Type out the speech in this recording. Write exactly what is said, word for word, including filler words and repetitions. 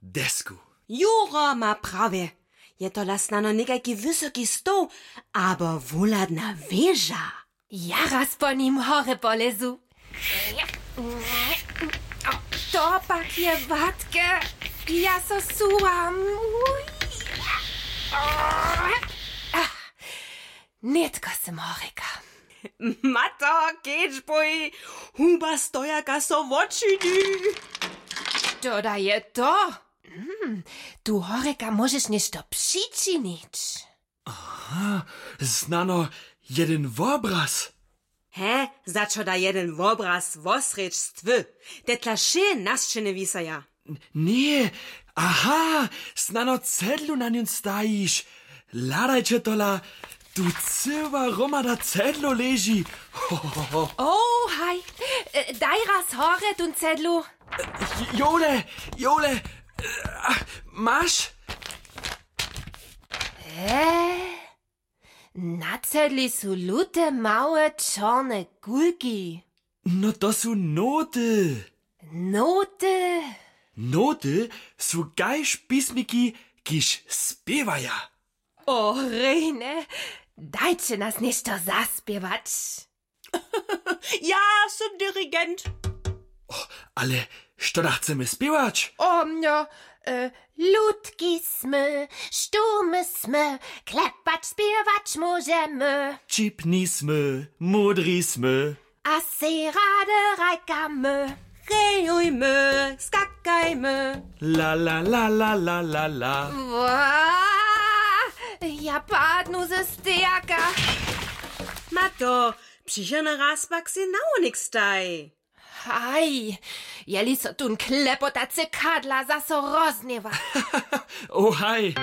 Desku. Jura ma prawje. Je tola snano někajki wysoki stoł abo wuhladna wěža? Ja raz po nim horje polezu. To pak je watke. Ja so suwam. Nětko sym horjeka. Mato, kedźbuj, huba stojaka so wočini. Što da je to? Hmm, tu horjeka móžeš něšto přičinić. Aha, snano jeden wobraz. He, za čo da jeden wobraz wosrjedź stwy? Te tla wšě na sćenje wisaja. Ně, aha, snano cedlu na njón stajiš. Hladajće tola, tu cyła hromada cedlow leži. Ho, ho, ho, ho. Oh, haj, daj raz horje tón cedlu. Jole, jole, maš? Na cedli su lute małe čorne kulki. No to su noty. Noty? Noty su kaž pismiki, kiž spěwaja. O rejne, dajće nas něšto zaspěwać. Ja sym dirigent. Ale što da chcemy spěwać? O mnjo. Lutki smy, štumy smy, klepać spěwać móžemy. Čipni smy, módri smy. A sej rady hrajkamy. Hejujmy, skakajmy. La la la la la la la. Ja padnu ze stejaka. Mato, přichodny raz pak sej na wonik staj. Haj, jeli so tón klepotacy kadla zaso rozhněwa. Oh haj.